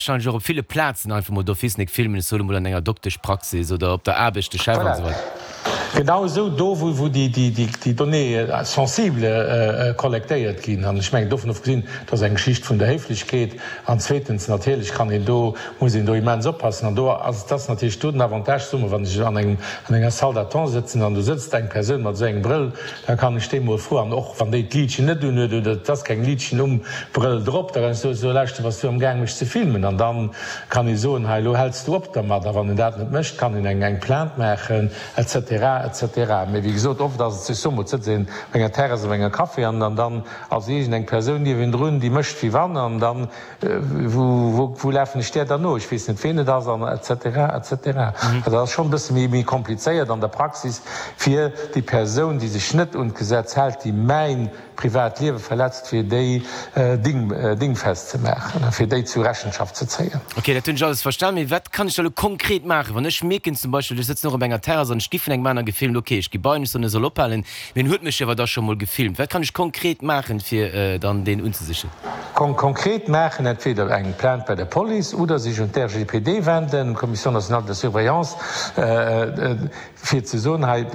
Wahrscheinlech och op ville Plazen einfach mol d'office nik filmen, ech soen emol an enger Dokteschpraxis oder op der Aarbecht, de Chef an esou weider. Genau esou do wou déi Données sensibles kollektéiert ginn. An ech mengen, dovun ofgesinn, dat ass eng Geschicht vun der Héiflechkeet. An zweetens natierlech kann een do, muss een do immens oppassen. An do ass, et ass natierlech do den Avantage, soe mer, wann ech an engem, an enger Salle d'attente sëtzen an do sëtzt eng Persoun mat esou engem Brëll, Da kann ech déi mol froen, an och wann déi d'Liitchen net un huet oder et ass keng Liitchen um Brëll drop, da kann ech soen, so lauschter, bass du am Gaang mech ze filmen? An dann kann ee soen, hei elo häls du op dermat. A wann en dat net mécht, kann een eng eng Plainte maachen, et cetera, et cetera. Mee wéi gesot, oft ass et sech, soe mol, et sëtzt een op enger Terrass op enger Café an dann ass iergend eng Persoun niewendrun, déi mécht wéi wann, an dann Wou lafen ech där dann no? Ech weess net, ween et ass, an et cetera, et cetera. Also dat ass schonn e bësse méi komplizéiert an der Praxis, fir déi Persoun, déi sech net un d'Gesetz hält, déi mäin privat Liewe verletzt, fir déi dingfest ze maachen, fir déi zu Rechenschaft ze zéien. Ok, dat hunn ech alles verstan. Mee wat kann ech da elo konkret maachen, wann ech mierken zum Beispill, ech sëtzen och op enger Terrass an ech gi vun engem anere gefilmt, ok, ech gi bei en, ech soen, e soll ophalen, Mee en huet mech jo awer da scho mol gefilmt. Wat kann ech konkret maachen, fir dann deen unzesichen? Konkret maachen, entweder eng Plainte bei der Police oder sech un d'RGPD wenden, d'Commission nationale de surveillance, fir ze soen, hei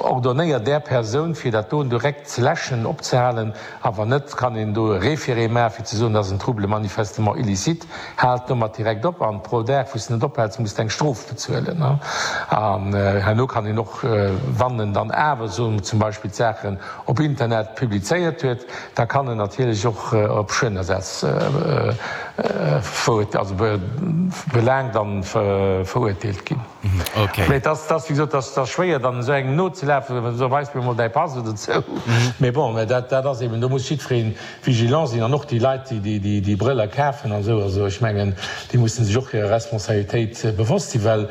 ordonnéiert där Persoun, fir dat doen direkt ze läschen, opzehalen. A wann net, kann een do e Référé maachen, fir ze soen, dat ass en Trouble manifestement illicite. Haalt domat direkt op an pro Dag wou s de net ophäls muss de eng Strof bezuelen. An herno kann een och, wann en dann awer soen mer zum Beispill d'Saachen op Internet publizéiert huet, da kann en natierlech och op Schuedenersatz also belaangt an verurteelt ginn. Mee et ass wéi gesot, et ass schwéier dann esou engem nozelafen, so weis mir emol däi Pass oder esou. Mee bon, dat ass eben, do muss jiddwereen vigilant sinn an och déi Leit, déi déi Brëller kafen an esou, also ech mengen, déi mussen sech och hirer Responsabilitéit bewosst sinn, well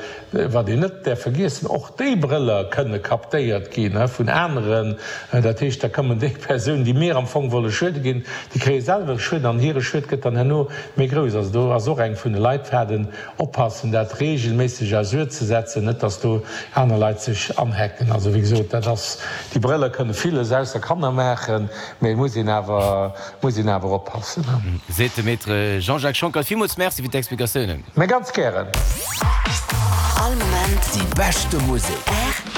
wat een net däerf vergiessen, och déi Brëller kënne captéiert gi vun aneren. Dat heescht, da kommen déi Persounen, déi mir am Fong wolle schuede ginn, déi kréie selwer e Schued an hire Schued gëtt dann herno méi grouss. Also do ass och eng vun de Leitfaden, Oppassen dat regelméisseg à jour ze setzen, net dass do aner Leit sech anhacken. Also wéi gesot, dat ass, déi Brëller kënne villes ausser Kanner maachen, mee et muss een awer, muss een awer oppassen. Seet de Maître Jean-Jacques Schonckert. Villmools Merci fir d'Explikatiounen. Mä ganz gären. All Moment Déi beschte Musek.